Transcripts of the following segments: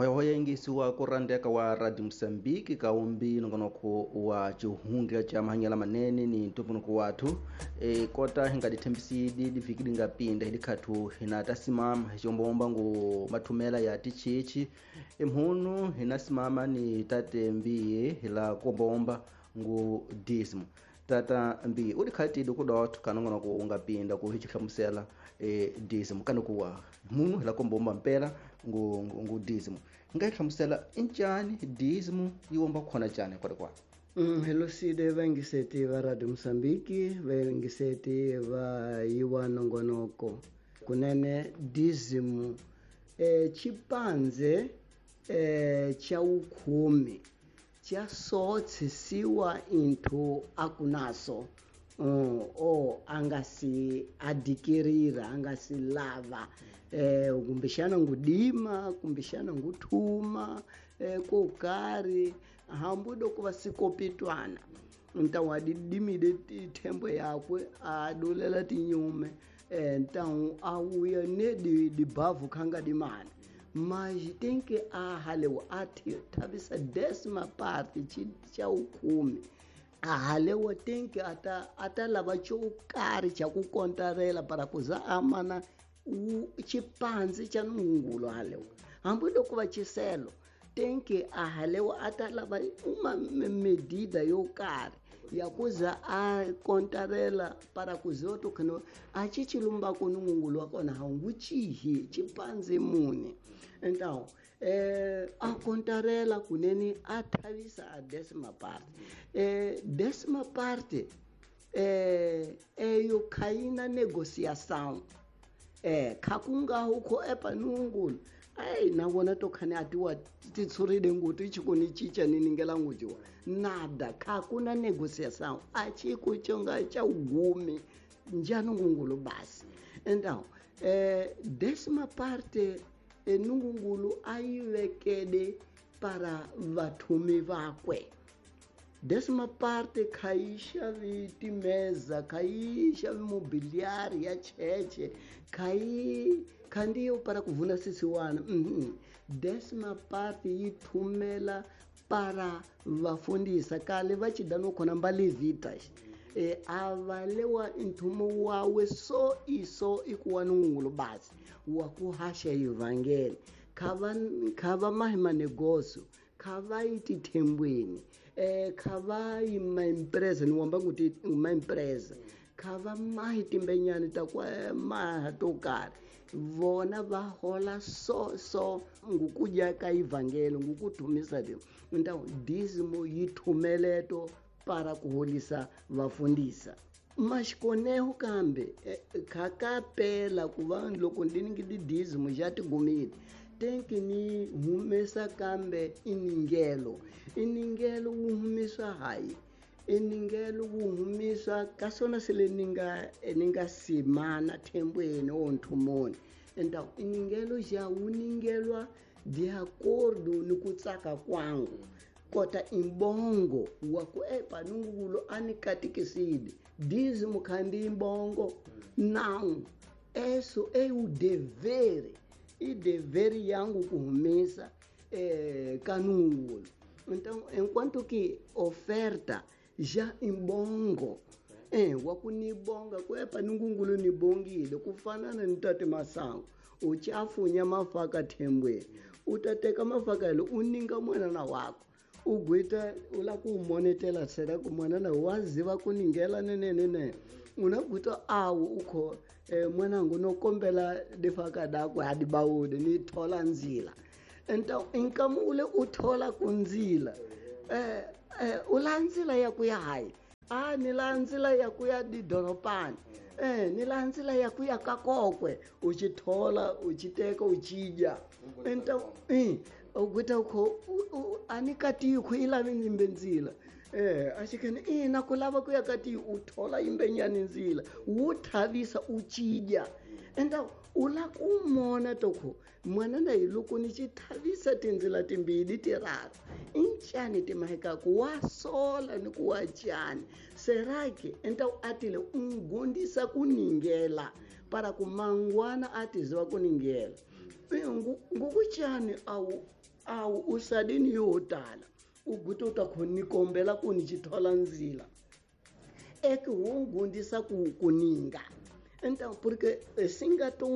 Hoyahoya yingisiwa ku randeka wa Radio Mosambiki ka umbi nongonoko wa cihundla ca mahanyela manene ni ntumbuluko wathu. Kota hi nga dithembisidi divhiki di nga pinda hi dikhathu hina ta simama hi combomba ngu mathumela ya tichichi emhunu hina simama ni tate mbiye hi la kombomba ngu dismo. Tata mbiye u dikhatidi ku dotho ka nongonoko u nga pinda ku hi ci hlamusela dismo kana ku wa munu hi la kombomba mpela ngu dismo. Nga yi hlamusela incani dismo yi womba khona cani kwale kwale? Hello side vaingiseti va Radio Mosambiki, vaingiseti va yiwa nongonoko. Kunene dismo chipanze cha ukumi cha sotsisiwa into akunaso. O angasi adikirira angasi lava kumbexana ngudima kumbexana nguthuma ko karhi hambi loko va sikopitwana ntawu a dimide thembo yakwe a dulela tinyume ntawu a wuya ne dibavhu khanga dimana mas tem que a halewa a thavisa décima parte cha ukumi. A halewa tem que ata lava xo karhi xa ku kontarela para kuza amana xipanzi xa nungulo halewa hambi loko va xiselo tem que a halewa ata lava uma medida yo karhi ya kuza a kontarela para kuza to khano a xi chilumba ku nungulo wa kona ha wu chihi xipanzi muni. Então a kontarela kunene a thavisa a décima parte. Décima parte eyo khaina negociação. Khakunga huko epa nungulu. Ai na vona to khane atiwa titshurile nguti chikoni chicha niningela ngujiwa. Nada khakuna negociação. A chiku chonga cha ugumi njano ngungulu basi. Então décima parte nungungulu ayivekede para vathumi vakwe. Décima parte khaisha timeza khaisha mobiliário ya cheche khai khandiyo para kuvuna sisiwana. Décima parte yi thumela para vafundisa kale va chidano khona mbalevitas. Avalewa nthumo wawe so iso ikuwa nungulu basi wa ku haxa evangeli khava mahi manegoso khava yi tithembweni khava yi maempresa ni wamba kuti maempresa khava mahi timbenyani ta ku maha to karhi vona va hola so so ngukudya ka evangeli ngukuthumisa le então dízimo yi thumeleto para kuholisa vafundisa. Mas koneho kambe khakapela ku va loko ndi ni dízimo ja tigumile tenki ni humesa kambe iningelo iningelo wu humisa hayi iningelo wu humisa ka swona sele ni nga simana thembweni o nthumoni. Então iningelo ja wu ningelwa de acordo ni ku tsaka kwangu kota imbongo wa ku epa nungulo anikatikisile dízimo khandi imbongo não eso é o dever e dever yangu kuhumisa kanungulo. Então enquanto que oferta já imbongo wa ku nibonga ku epa nungulo nibongile kufanana ni tate masango uchafunya mafaka thembweni utateka mafaka lo uninga mwana wako ugwita ula ku monetela sera ku mwana na waziva kuningela nenene unagwita awu ukho mwanangu nokombela difaka dakwe adibawude ni thola nzila. Então inkamule uthola kunzila ulanzila ya kuya hayi a ni lanzila ya kuya didoropani ni lanzila ya kuya kakokwe uchithola uchiteka uchidya. Então ugwita ukho anikati ukho ilavi nimbe nzila ashikene ina kulava kuya kati uthola imbenyani nzila wuthavisa uchidya. Então ula kumona tokho mwana na loko ni xithavisa tindzila timbili tiraru incani timahekaku wa sola ni ku wa cani serake então atile ungondisa kuningela para ku mangwana atiziva kuningela ngukuchani awu Awu u sadini yo tala u guta u ta khoni kombela ku ni xithola ndzila eke wo gundisa ku ninga então porque singa to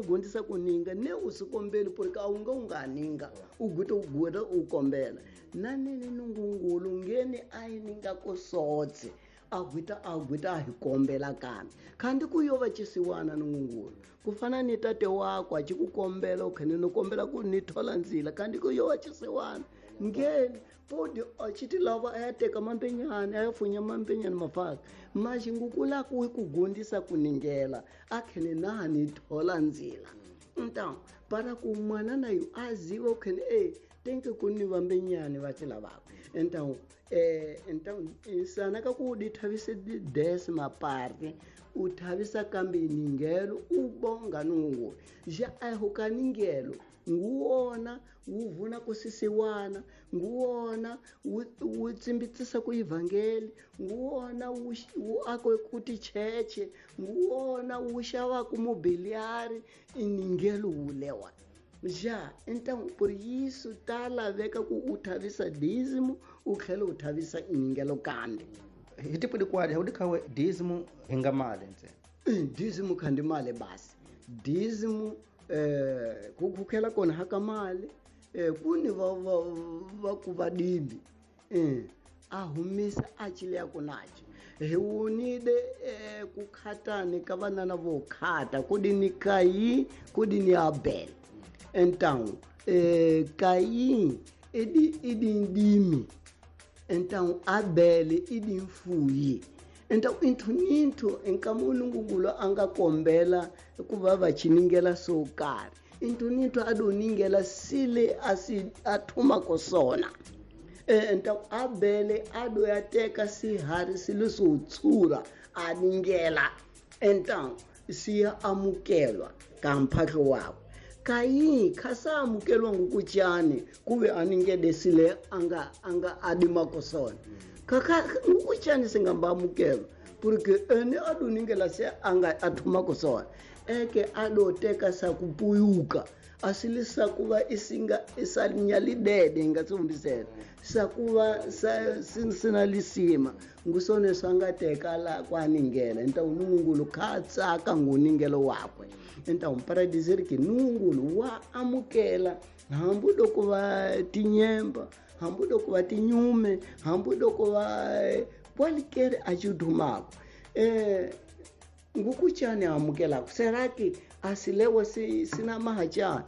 gundisa ku ninga ne u si kombeli porque a wu nge u nga ninga u guta u guta u kombela na nene nungungulu ngeni a yi ninga ku sotse a gwita a hi kombela kambe khandi ku yo va cisiwana nungungulu ku fana ni tate wakwe a ci ku kombela u khene no kombela ku ni thola ndzila khandi ku yo va cisiwana ngeni podi a ci ti lava a ya teka mampenyani a ya funya mampenyani mafaka maxingukula ku ku gundisa ku ningela a khene na ni thola ndzila então para ku n'wana na yo a ziva u khene e tenke ku ni vambenyani va ci lavaka então então insana ka ku di thavise décima parte u thavisa kambe ningelo u bonga nungungulu ja aho ka ningelo nguwona wu vuna ku sisiwana nguwona wu tsimbitsisa ku ivhangeli nguwona wu akwe ku ticheche nguwona wu xavaku mobiliari i ningelo wulewa ja então por isso ta laveka ku u thavisa dízimo u tlhela u thavisa iningelo kambe hi tipudi kwadi wu dikhawe dízimo hi nga mali ntsena dízimo khandi mali basi dízimo ku khukhela kona haka mali ku ni va ku vadimbi a humisa a cileya ku naci hi wonile ku khatani ka vanana vo khata ku di ni Kayi ku di ni Abel então Kayi idi ndimi então Abel idi mfuyi então inthu ninthu nkama nungungulu a nga kombela ku va va chiningela swo karhi inthu ninthu a do ningela sile a si a thumako sona então Abel a do ya teka sihari silo swo tshura a ningela então siya amukelwa ka mphahlo wakwe Kayi khasa amukelwa ngukutyani kube aningede sile anga adimako sona kaka ngukutyani singamba amukelwa porque ene aduningela se anga athumako sona eke adoteka sakupuyuka asilisa kuva isinga isalinyalidede ngatsumbisela sakuva sinalisima ngusone swangateka la kwaningela então nungungulu khatsaka nguningelo wakwe então para dizer que nungungulu wa amukela hambi loko va tinyemba hambi loko va tinyume hambi loko va kwalikere a xidumako ngukutyani amukelaka será que asilewa sina mahachani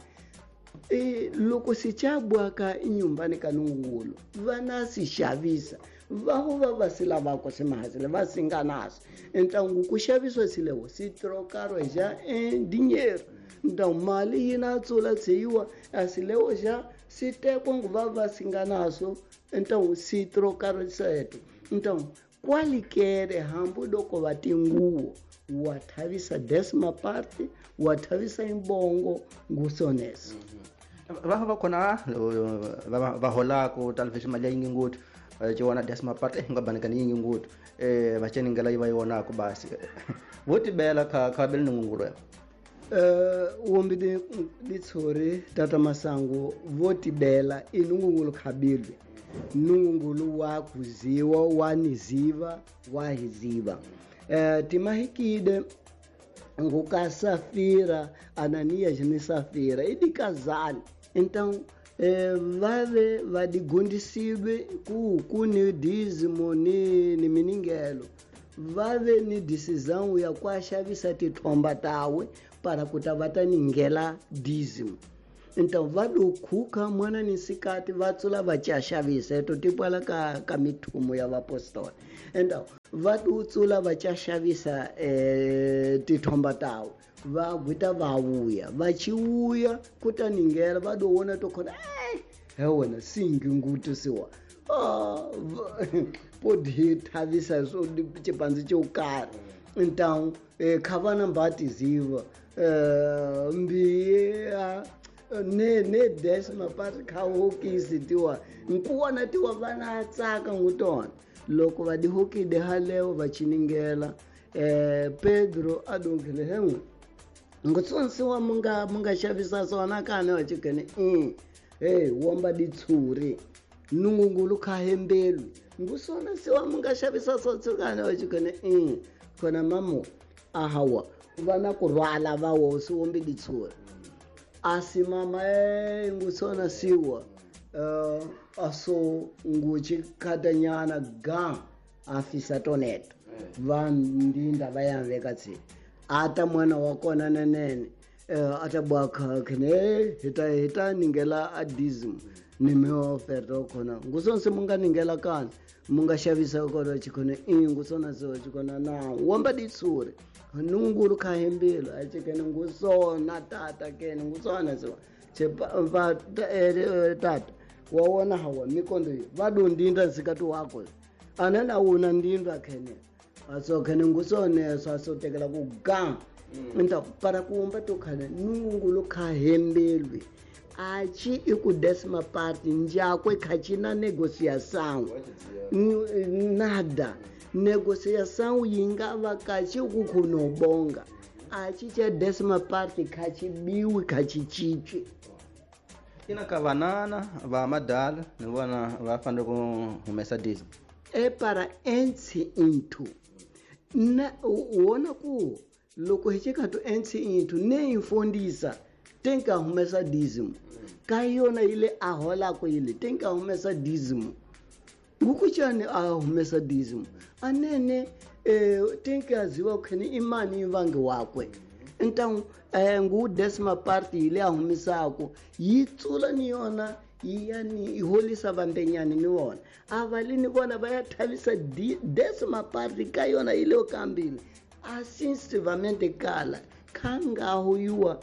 loko sichabwaka inyumbani ka nungungulu vana si xavisa vaho va va si lavaka simahasile va singa naso então ku xaviswa silewo si trocaro já em dinheiro então mali yi na tsula tsiwa asilewo já si tekwa nguva va singa naso então si trocaro seto então kwalikere hambi loko va tinguwo wa thavisa décima parte wa thavisa imbongo ngusoneso va va khona va holako talvez mali ya yingi ngopfu ciwana décima parte nga banikani yingi ngopfu va ceningela yi va yonako basi vo tibela kha bele nungungulu wombi ditshori tata masangu vo tibela i nungungulu khabilwe nungungulu wa kuziwa wa niziva wa hiziva timahikide nguka Safira Ananias ni Safira idikazali então vave vadigundisiwe ku ni dízimo ni miningelo vave ni decisão ya ku xavisa tithomba tawe para ku ta va ta ningela dízimo então va do khuka mwana ni sikati va tsula va ca xavisa eto tipwala ka mithumo ya vapostola então va do tsula va ca xavisa tithomba tawe va gwita va vuya va chiuya ku ta ningela va do wona to khona he wena singi ngutu siwa podi thavisa swo xipandzi xo karhi então kha vana mbatiziva mbiya ne décima parte kha hokisi tiwa nkuwana tiwa vana tsaka ngutona loko va dihokide halewo va chiningela Pedro adonkele henwe ngutsonsiwa munga xavisa swona kani wa chikene Hey womba ditshuri nungungulu khahembelwi ngusona siwa munga xavisa sotsukana wa chikone khona mamo ahawa vana ku rhwala va wo si wombi ditshuri asi mama ngusona siwa aso nguchi khatanyana ga afisa toneto va ndinda va ya veka tsi ata mwana wa kona nenene ata bwa khene hita ningela adism ni me oferta khona ngusonse munga ningela kana munga xavisa kona chikhona ngusona so chikhona na womba ditsuri nungulu khahembelo a chikene ngusona tata kene ngusona so va tata wa wona hawa mikondo va dondinda nsikati wako anana wona ndinda khene aso khene ngusone so aso tekela ku ga nta para kuomba to khana nungulu khahembelwe achi iku décima parte njakwe khachina negociação nada negociação yinga vakachi kukhunobonga achi cha décima parte khachibiwi khachichichwi ina ka vanana va madala ni vona va fanele ku humesa diesel e para entsi into na wona ku loko hi chikatu entsi into ne infondisa tenka humesa dízimo ka yona ile a holako ile tenka humesa dízimo ngukuchani a humesa dízimo anene tenka ziwa khene imani ivange wakwe então ngu décima parte ile a humisako yi tsula ni yona yani iholisa vambenyani ni wona avalini vona va ya thavisa décima parte ka yona ile okambile asinsivamente kala khangaho yuwa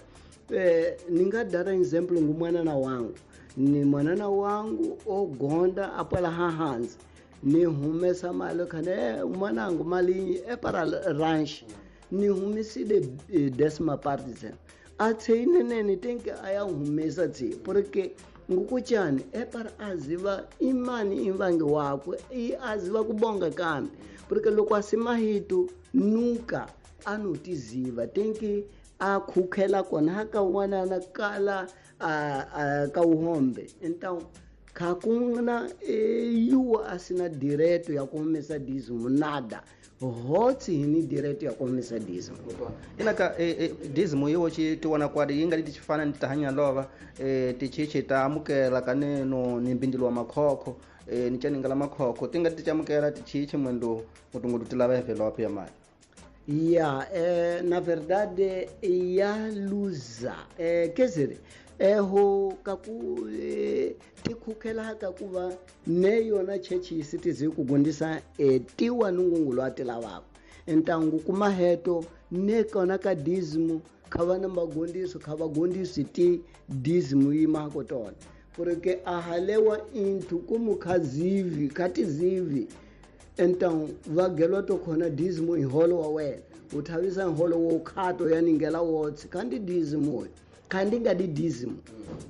ninga dara example ngu mwanana wangu ni mwanana wangu ogonda apala hahanzi ni humesa mali khane mwanangu mali e para ranch ni humisile décima parte athe inene tenke aya humesa tsi porque ngukuchani e para aziva imani imvange wakwe i aziva kubonga kambe porque loko asimahitu nunca anotiziva tenke a khukhela kona ka wanana kala a ka uhombe então khakuna yuwa asina direto ya kumesa dízimo nada hotsi hini direto ya kumesa dízimo ina ka dízimo yiwo chi tiwana kwadi yi nga li tichifana ni tahanya lova tichichi ta amukela kaneno ni mbindilo wa makhokho ni chaningala makhokho ti nga ti chamukela tichichi mwendo ngutungutu ti lava envelope ya mali ya na verdade ya luza quer dizer ho kaku tikhukhela kakuva ne yona chechi sitizi kugondisa tiwa nungungulu atilavako então kumaheto ne kona ka dízimo khava na magondiso khava gondisi ti dízimo yimako tona porque ahalewa inthu kumukhazivi khatizivi então vagelwa to khona dízimo iholo wa wena u thavisa nholo wo khato ya ningela wotsi khandi dízimo khandi nga di dízimo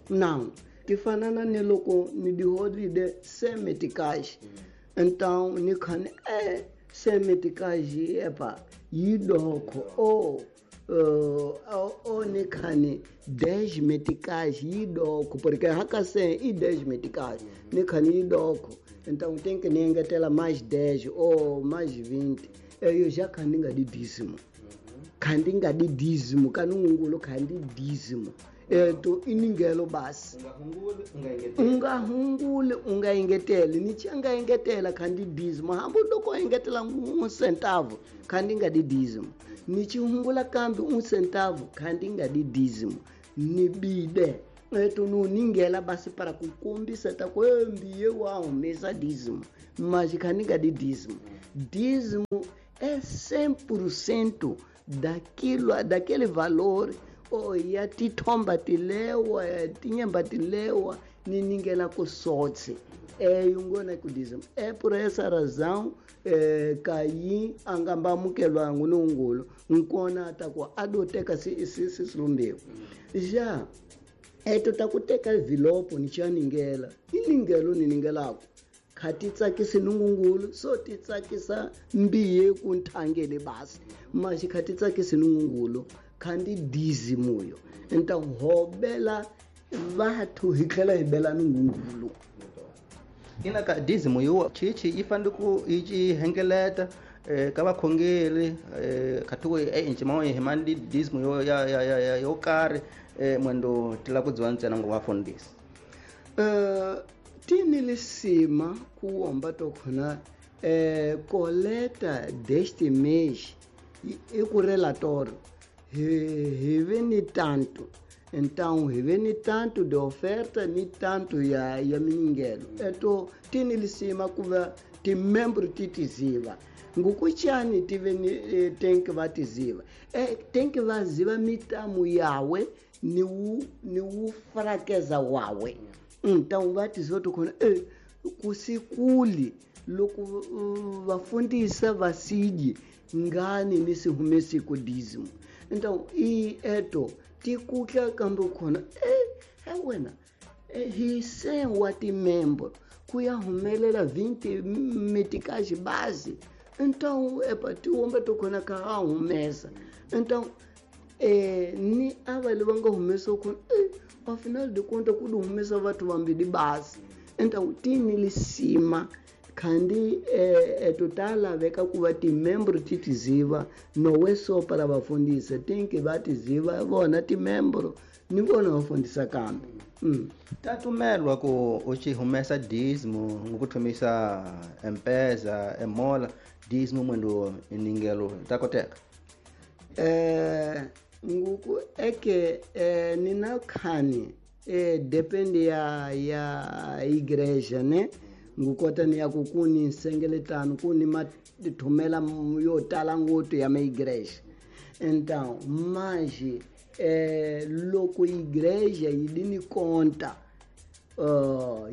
now tifanana ni loko ni diholide semetikashi então ni khani semetikashi epa yidokho o ni khani 10 metikashi yidokho porque hakase i 10 metikashi ni khani yidokho então tem que nengetela mais 10 ou mais 20 eu já khandi nga di dízimo khandi nga di dízimo kanungulo khandi dízimo to iningelo basi unga hunguli unga engeteli ni changa engetela khandi dízimo hambo loko engetela un centavo khandi nga di dízimo ni chihungula kambi un centavo khandi nga di dízimo ni bide eto no ningela basi para kukombisa ta kwembiye wa humesa dízimo mas khandi nga di dízimo dízimo é 100% daquilo daquele valor ya tithomba tilewa tinyemba tilewa ni ningela kusotse yungona kudizimo por essa razão kayi angamba amukelwa ngunungulu nkona atakuwa adoteka sisilumbewu já eto takuteka vilopo nichaningela iningelo niningelako khati tsakisi nungungulu so ti tsakisa mbiye ku nthangele basi maxi khati tsakisi nungungulu khandi dízimo yo então hobela vathu hi tlhela hi bela nungungulu. Ina ka dízimo yo chichi yi fanele ku yi ci hengeleta ka vakhongeri khathuko encima hi mani dízimo yo ya ya ya yo karhi mwendo tila ku dziwa ntsena ngo vafundhisi. Tini lisima ku womba to khona coleta deste mês i ku relatório hi ve ni tanto, então hi ve ni tanto de oferta ni tanto ya miningelo. Eto tini lisima ku va timembro ti tiziva ngukuchani tive ni tenke va tiziva tenke va ziva mitamu yawe ni wu frakeza wawe. Então va tiziva to khona kusikuli loko vafundisa vasiji ngani ni si humesi ku dízimo. Então i eto tikutla kambe khona wena hi se wa timembro ku ya humelela 20 metikaji base. Então epa tiwomba to khona ka ha humesa. Então ni ava lava nga humesa khona afinal de conta ku humesa vathu vambili base. Então tini lisima khandi totala veka ku va timembro ti tiziva nowe so para vafundisa tinki va tiziva vona timembro ni vona vafundisa kambe. Tatumelwa ku u ci humesa dízimo ngokuthomisa empeza emola dízimo mwendo iningelo ta koteka. Nguku eke nina khani depende ya igreja ne ngukota ni ya ku kuni nsengeletano kuni mathumela yo tala ngopfu ya maigreja. Então mas loko igreja yi ni conta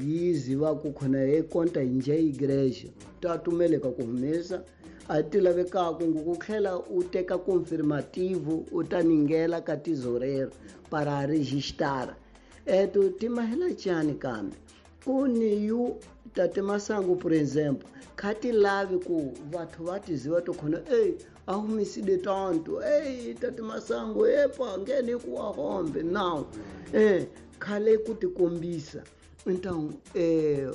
yi ziva ku khona e conta nje igreja ta tumeleka ku humesa a ti lavekaku ku tlhela u teka confirmativo u ta ningela ka tesoureiro para registrar eto timahela chani kambe kuni yu tate Masango por exemplo khati lavi ku vathu va tiziva to khona a humisile tanto tate Masango epa ngene ku wa hombe now khale ku tikombisa. Então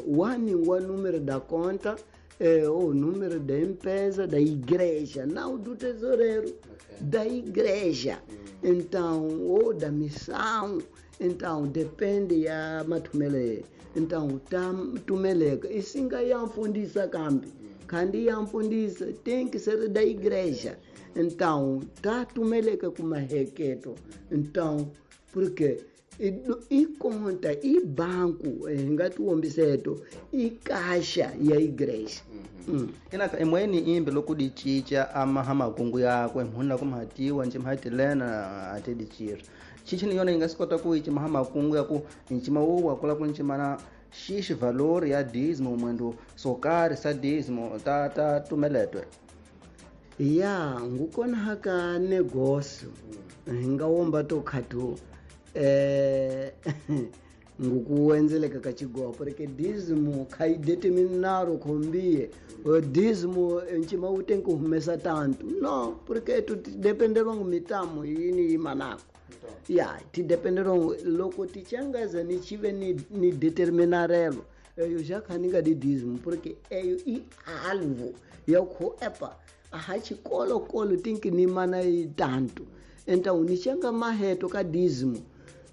wani wa número da conta o número da empresa da igreja não do tesoureiro, okay, da igreja. Então ou da missão. Então depende ya mathumele. Então ta tumeleka isinga yamfundisa kambi kandi yamfundisa tem que ser da igreja. Então ta tumeleka kumaheketo. Então porque i conta i banco ngatiwombiseto i kasha ya igreja. Ina imweni imbe loko di chicha amaha makungu yakwe mhuna kumhatiwa nje mhatilena atedichira chichi ni yona yi nga swi kota ku yi cimaha makungu ya ku ncima wu wa kula ku ncimana xixi valor ya dízimo mwendo swo karhi sa dízimo ta tumeletwe ya ngukona haka negócio hi nga womba to khathu ngukuwenzeleka ka xigopo porque dízimo kha yi determinaro khombie dízimo ncima wu tenki humesa tanto no porque tu dependerwa ngu mitamo yini yi manako ya ti dependerwa loko ti changaza ni chive ni determinarelo eyo já kha ni nga di dízimo porque eyo i alvo ya kho epa aha xikolokolo tinki ni mana yi tanto. Então ni changa maheto ka dízimo.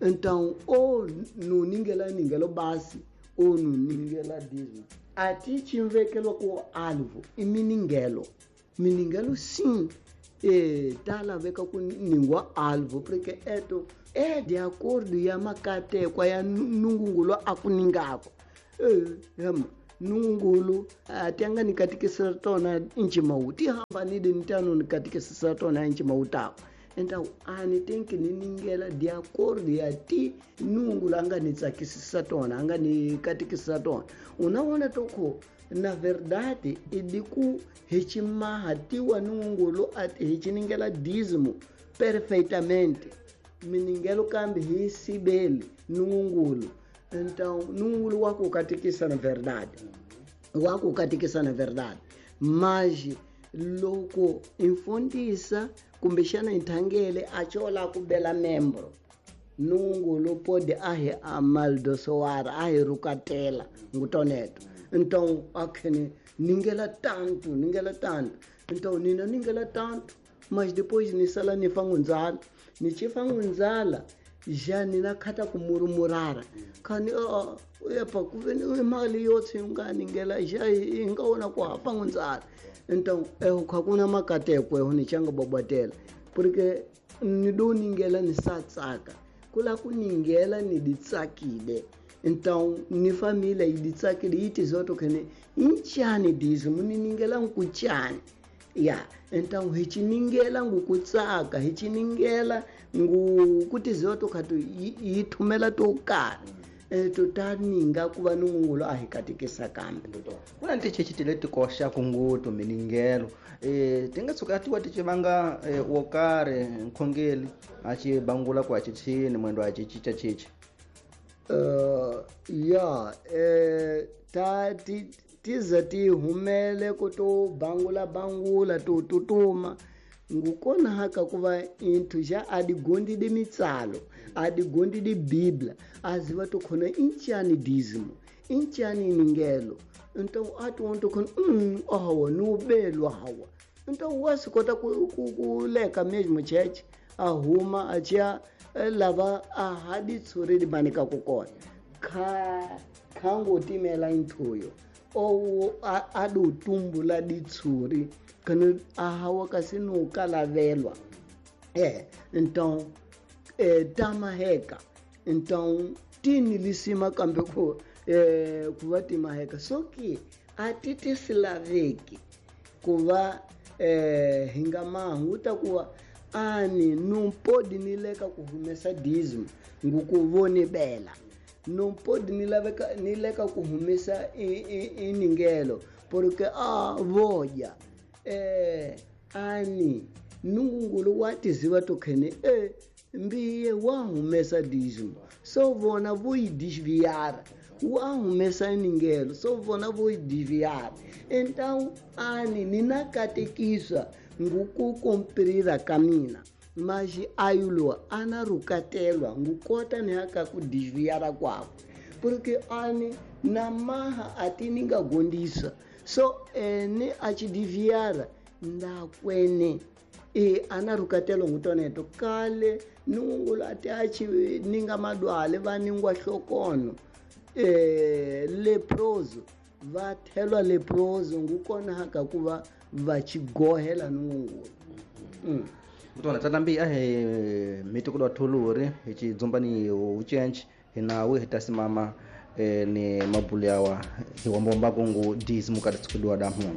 Então ou no ningela ningelo base ou no ningela dízimo ati chimvekelo ku alvo i miningelo miningelo sim tala veka ku ningwa alvo porque eto é de acordo ya makatekwa ya nungungulo akuningako hema nungulu ati anga ni katikisa tona nchimawu ti hambanile ni tano ni katikisa tona nchimawu tawo. Então ani tenki ni ningela de acordo ya ti nungulu anga ni tsakisisa tona anga ni katikisa tona. Unaona toko na verdade idiku hichimaha tiwa nungulu ati hichiningela dízimo perfeitamente miningelo kambi hi sibeli nungulu. Então nungulu wako katikisa na verdade wako katikisa na verdade mas loko imfundisa kumbexana inthangele achola ku bela membro Nungulu pode ahi amaldosoara ahi rukatela ngutoneto. Então akhene ningela tanto, ningela tanto. Então nina ningela tanto, mas depois nisala nifangunzala. Nichifangunzala já nina khata kumurumurara. Khani epa kuveni imali yotse unganingela já ingaona ku hafangunzala. Então eu khakuna makateko eu nichanga bobatela. Porque nidoningela nisatsaka. Kula kuningela niditsakile. Então ni família iditsakile iti zoto khene inchani dizo muniningela nkuchani. Ya, então hichiningela ngukutsaka, hichiningela ngukuti zoto khatu yithumela to karhi. Tutaninga kuva nungulo a hi katekisa kambe. Kuna ntichechi leti koxaka ngopfu miningelo. Ti nga tshuka tiwa ti vanga wo karhi nkhongeli a ci bangula ku a ci chini mwendo a ci cinca cinca. Ya, ta ti tiza ti humele ku to bangula bangula to tutuma ngukona haka kuva inthu ja adigondi di mitsalo adigondi di biblia aziva to khona inchani dízimo inchani ningelo. Então ati wonto khona awa nubelwa hawa. Então wasikota ku leka mesmo church ahuma achia lava ahadi tsuri di manika kukona kha khangotimela inthuyo owo adu tumbula ditsuri kana ahawa kasi no kalavelwa. Então tamaheka. Então tini lisima kambe ku kuva timaheka soki atiti silaveki kuva hinga mahuta kuva ani não pode nileka kuhumesa dízimo ngukuvoni bela. Não pode nileka kuhumesa iningelo porque a voja ani nungulu watiziva tokhene mbiye wahumesa dízimo so vona voidesviar wahumesa iningelo so vona voidesviar. Então ani ninakatekiswa ngukukumprira kamina mas ayulo anarukatelwa ngukota nehaka kudesviara kwako porque ani namaha atiningagondisa so ene achidiviara ndakwene anarukatelwa ngutoneto kale nungulu ati achi ninga madwale vaningwa hlokono leproso vathelwa leproso ngukona haka kuva vachigohela nungulu. Mutwana tatambi ahe mitoko thuluri hi chidzumba ni uchenchi hi nawe hi tasimama ni mabulu yawa hi wambomba kungu dízimo kati tsikudiwa da mhunu.